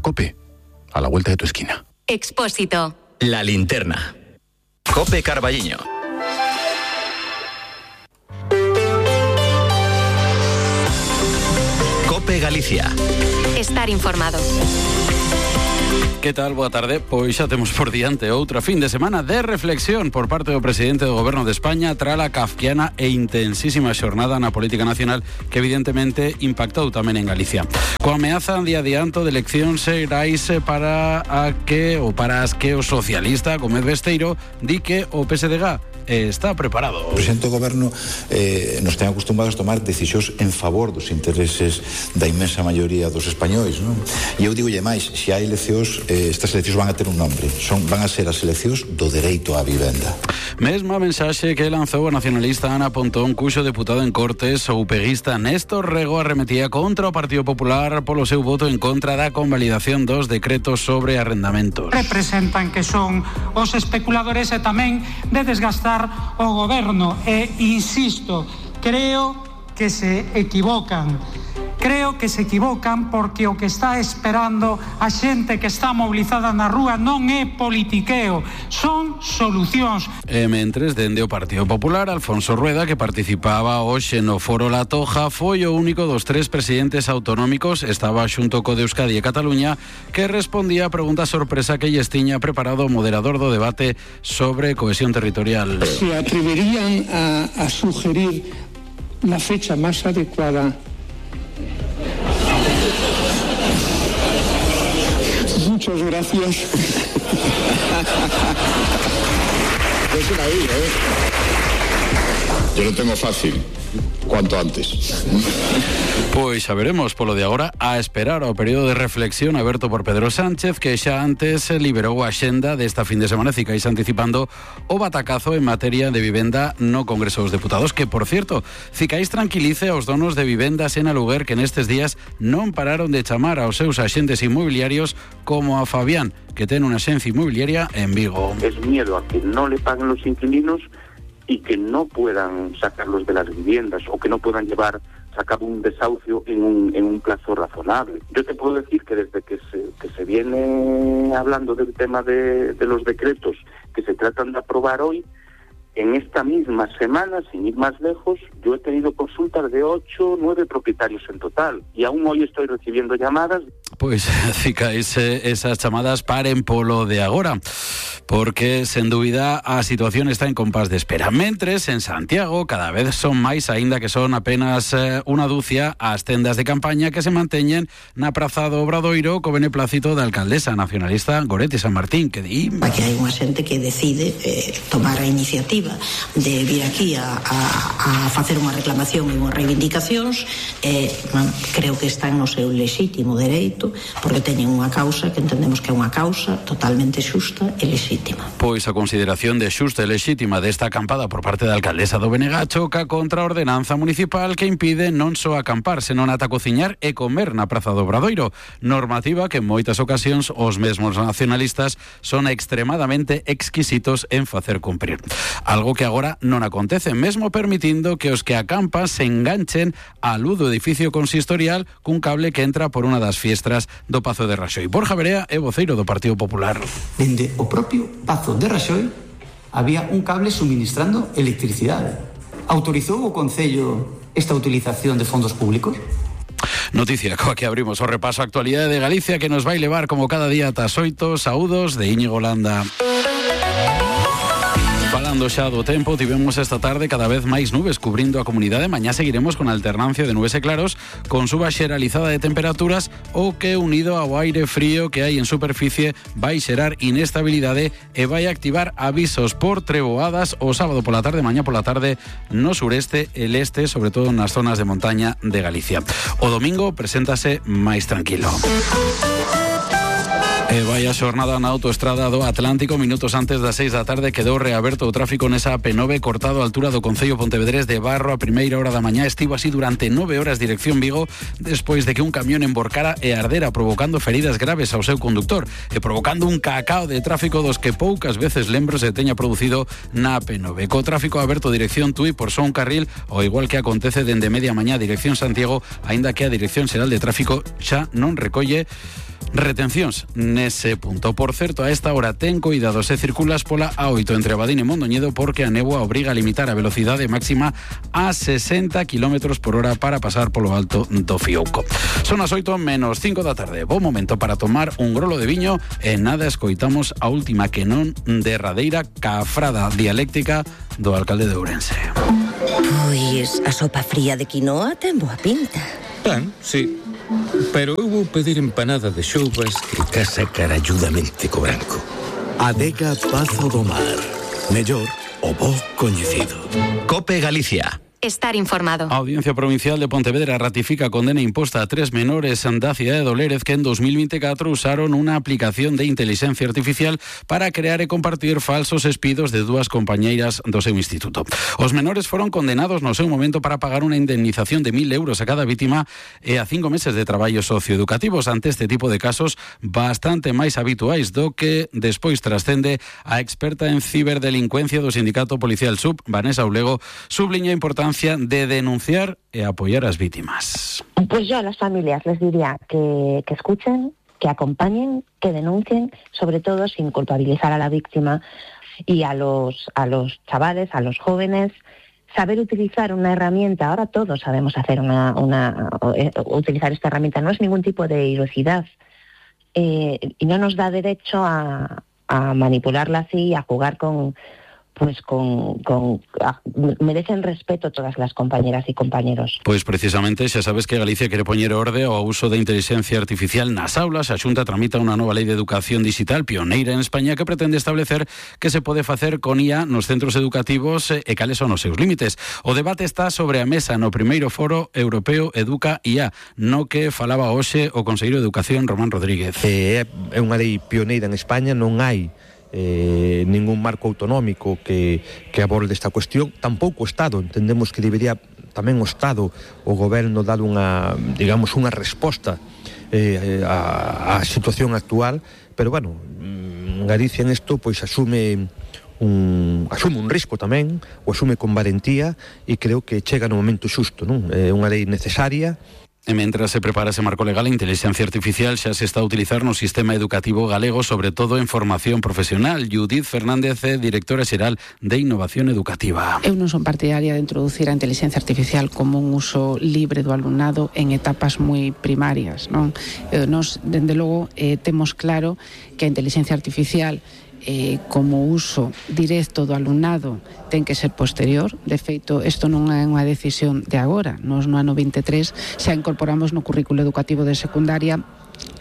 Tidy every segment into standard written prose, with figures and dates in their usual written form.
COPE, a la vuelta de tu esquina. Expósito. La Linterna. COPE Carballiño. COPE Galicia. Estar informado. Que tal? Boa tarde. Pois xa temos por diante outra fin de semana de reflexión por parte do presidente do Goberno de España tras a kafkiana e intensísima xornada na política nacional que evidentemente impactou tamén en Galicia. Coa ameaza de adianto de eleccións xerais para as que o socialista Gómez Besteiro di que o PSDG está preparado. O presidente do Goberno nos ten acostumados a tomar decisións en favor dos intereses da inmensa maioría dos españois, non? E eu digolle máis, se hai eleccións, estas eleccións van a ter un nombre, van a ser as eleccións do dereito á vivenda. Mesma mensaxe que lanzou a nacionalista Ana Pontón, cuxo deputado en Cortes, o upeguista Néstor Rego, arremetía contra o Partido Popular polo seu voto en contra da convalidación dos decretos sobre arrendamentos. Representan que son os especuladores e tamén de desgastar o goberno e, insisto, creo que se equivocan porque o que está esperando a xente que está mobilizada na rúa non é politiqueo, son solucións. E mentres, dende o Partido Popular, Alfonso Rueda, que participaba hoxe no Foro La Toja, foi o único dos 3 presidentes autonómicos, estaba xunto co de Euskadi e Cataluña, que respondía a pregunta sorpresa que lles tiña preparado o moderador do debate sobre cohesión territorial. ¿Se atreverían a sugerir la fecha más adecuada? Muchas gracias. Yo lo tengo fácil, cuanto antes. Pois xa veremos, polo de agora, a esperar ao período de reflexión aberto por Pedro Sánchez, que xa antes liberou a axenda desta fin de semana, cicais anticipando o batacazo en materia de vivenda no Congreso dos Deputados, que, por cierto, cicais tranquilice aos donos de vivendas en aluguer que nestes días non pararon de chamar aos seus axentes inmobiliarios, como a Fabián, que ten unha axencia inmobiliaria en Vigo. Es miedo a que no le paguen los inquilinos y que no puedan sacarlos de las viviendas o que no puedan llevar a cabo un desahucio en un plazo razonable. Yo te puedo decir que desde que se viene hablando del tema de los decretos que se tratan de aprobar hoy, en esta misma semana, sin ir más lejos, yo he tenido consultas de 8 o 9 propietarios en total y aún hoy estoy recibiendo llamadas. Pois ficais esas chamadas paren polo de agora, porque, sen dúbida, a situación está en compás de espera. Mentres, en Santiago, cada vez son máis, aínda que son apenas unha dúcia, as tendas de campaña que se manteñen na Praza do Obradoiro co beneplácito da alcaldesa nacionalista Goretti San Martín, que di... Aquí hai unha xente que decide tomar a iniciativa de vir aquí a facer unha reclamación e unhas reivindicacións, creo que están no seu lexítimo dereito, porque teñen unha causa que entendemos que é unha causa totalmente xusta e lexítima. Pois a consideración de xusta e lexítima desta acampada por parte da alcaldesa do BNG choca contra a ordenanza municipal que impide non só acampar, senón ata cociñar e comer na Praza do Obradoiro, normativa que en moitas ocasións os mesmos nacionalistas son extremadamente exquisitos en facer cumprir. Algo que agora non acontece, mesmo permitindo que os que acampan se enganchen á luz do edificio consistorial cun cable que entra por unha das fiestras do Pazo de Raxoi. Borja Berea é voceiro do Partido Popular. Dende o propio Pazo de Raxoi había un cable suministrando electricidade. Autorizou o Concello esta utilización de fondos públicos? Noticia coa que abrimos o repaso a actualidade de Galicia que nos vai levar como cada día ata as 8. Saúdos de Íñigo Landa. Falando xa do tempo, tivemos esta tarde cada vez máis nubes cubrindo a comunidade. Mañá seguiremos con alternancia de nubes e claros, con suba xeralizada de temperaturas, o que, unido ao aire frío que hai en superficie, vai xerar inestabilidade e vai activar avisos por treboadas o sábado pola tarde, mañá pola tarde no sureste e leste, sobre todo nas zonas de montaña de Galicia. O domingo preséntase máis tranquilo. E vai a xornada na autoestrada do Atlántico. Minutos antes das 6 da tarde quedou reaberto o tráfico nesa AP9 cortado a altura do Concello Pontevedrés de Barro a primeira hora da mañá. Estivo así durante 9 horas dirección Vigo, despois de que un camión emborcara e ardera, provocando feridas graves ao seu conductor e provocando un cacao de tráfico dos que poucas veces lembro se teña producido na AP9. Co tráfico aberto dirección Tui por só un carril, ao igual que acontece dende media mañá dirección Santiago, aínda que a Dirección Xeral de Tráfico xa non recolle Retencións nese punto. Por certo, a esta hora ten cuidado se circulas pola A8 entre Abadín e Mondoñedo porque a néboa obriga a limitar a velocidade máxima a 60 km por hora para pasar polo alto do Fiouco. Son as 8 menos 5 da tarde. Bo momento para tomar un grolo de viño e nada escoitamos a última que non derradeira cafrada dialéctica do alcalde de Ourense. Pois a sopa fría de quinoa ten boa pinta. Ben, sí. Pero eu vou pedir empanada de xoubas que casa caralludamente co branco. Adega Pazo do Mar. Mellor o bo coñecido. COPE Galicia. Estar informado. A Audiencia Provincial de Pontevedra ratifica a condena imposta a 3 menores da cidade de Dolérez que en 2024 usaron unha aplicación de inteligencia artificial para crear e compartir falsos espidos de dúas compañeiras do seu instituto. Os menores foron condenados no seu momento para pagar unha indemnización de 1.000 euros a cada vítima e a 5 meses de traballos socioeducativos ante este tipo de casos bastante máis habituais do que despois trascende a experta en ciberdelincuencia do Sindicato Policial Sub, Vanessa Ulego, subliña a importancia de denunciar e apoyar a las víctimas. Pues yo a las familias les diría que escuchen, que acompañen, que denuncien, sobre todo sin culpabilizar a la víctima, y a los chavales, a los jóvenes, saber utilizar una herramienta. Ahora todos sabemos hacer utilizar esta herramienta, no es ningún tipo de ilusidad y no nos da derecho a manipularla así, a jugar merecen respeto todas las compañeras y compañeros. Pois precisamente xa sabes que Galicia quere poñer orde ao uso da inteligencia artificial nas aulas. A Xunta tramita unha nova lei de educación digital pioneira en España que pretende establecer que se pode facer con IA nos centros educativos e cales son os seus límites. O debate está sobre a mesa no primeiro foro europeo Educa IA, no que falaba hoxe o conselleiro de Educación Román Rodríguez. É unha lei pioneira en España, non hai ningún marco autonómico que aborde esta cuestión, tampouco o Estado. Entendemos que debería tamén o Estado, o goberno, dar unha resposta á situación actual, pero bueno, Galicia en isto pois asume un risco tamén, o asume con valentía e creo que chega no momento xusto, non? É unha lei necesaria. E mentras se prepara ese marco legal, a inteligencia artificial xa se está a utilizar no sistema educativo galego, sobre todo en formación profesional. Judith Fernández, directora xeral de Innovación Educativa. Eu non son partidaria de introducir a inteligencia artificial como un uso libre do alumnado en etapas moi primarias, non? Nos, dende logo, temos claro que a inteligencia artificial como uso directo do alumnado ten que ser posterior. De feito, isto non é unha decisión de agora. Nos no ano 23 xa incorporamos no currículo educativo de secundaria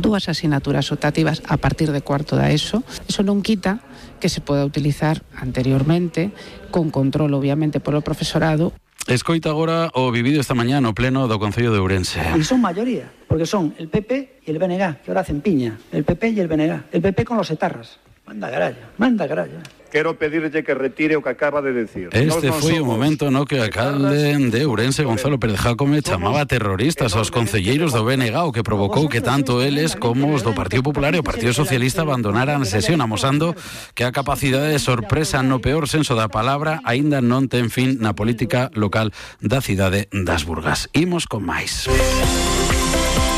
2 asignaturas optativas a partir de cuarto da ESO. Iso non quita que se poda utilizar anteriormente, con control obviamente polo profesorado. Escoita agora o vivido esta mañá no pleno do Concello de Ourense. Y son mayoría, porque son el PP y el BNG, que ahora hacen piña. El PP y el BNG. El PP con los etarras. Manda carallo. Quero pedirlle que retire o que acaba de decir. Este foi o momento no que o alcalde de Ourense, Gonzalo Pérez Jácome, chamaba terroristas aos concelleiros do BNG, o que provocou que tanto eles como os do Partido Popular e o Partido Socialista abandonaran a sesión, amosando que a capacidade de sorpresa no peor senso da palabra aínda non ten fin na política local da cidade das Burgas. Imos con máis.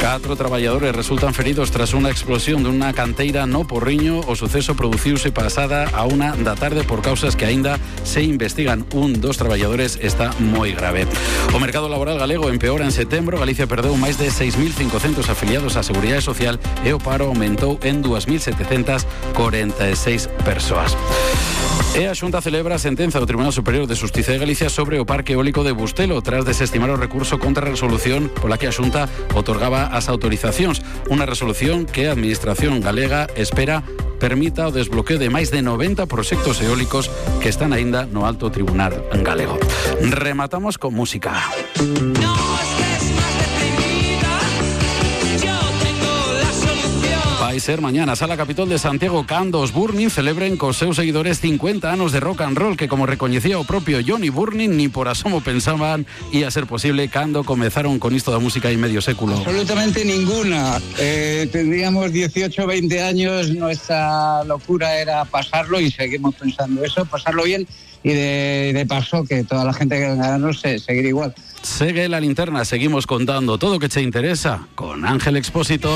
4 traballadores resultan feridos tras unha explosión dunha canteira no Porriño. O suceso produciuse pasada a 1 da tarde por causas que aínda se investigan. Un dos traballadores está moi grave. O mercado laboral galego empeora en setembro. Galicia perdeu máis de 6.500 afiliados á Seguridade Social e o paro aumentou en 2.746 persoas. E a Xunta celebra a sentenza do Tribunal Superior de Xustiza de Galicia sobre o parque eólico de Bustelo tras desestimar o recurso contra a resolución pola que a Xunta otorgaba as autorizacións. Unha resolución que a Administración galega espera permita o desbloqueo de máis de 90 proxectos eólicos que están aínda no alto tribunal galego. Rematamos con música. Vai ser mañana, Sala Capitol de Santiago, cando os Burning celebren cos seus seguidores 50 anos de rock and roll, que, como recoñecía o propio Johnny Burning, ni por asomo pensaban ia ser posible cando comezaron con isto da música hai medio século. Absolutamente ninguna. Tendríamos 18, 20 años, nuestra locura era pasarlo y seguimos pensando eso, pasarlo bien y de paso que toda la gente que venga a vernos seguir igual. Segue la linterna, seguimos contando todo o que che interesa con Ángel Expósito.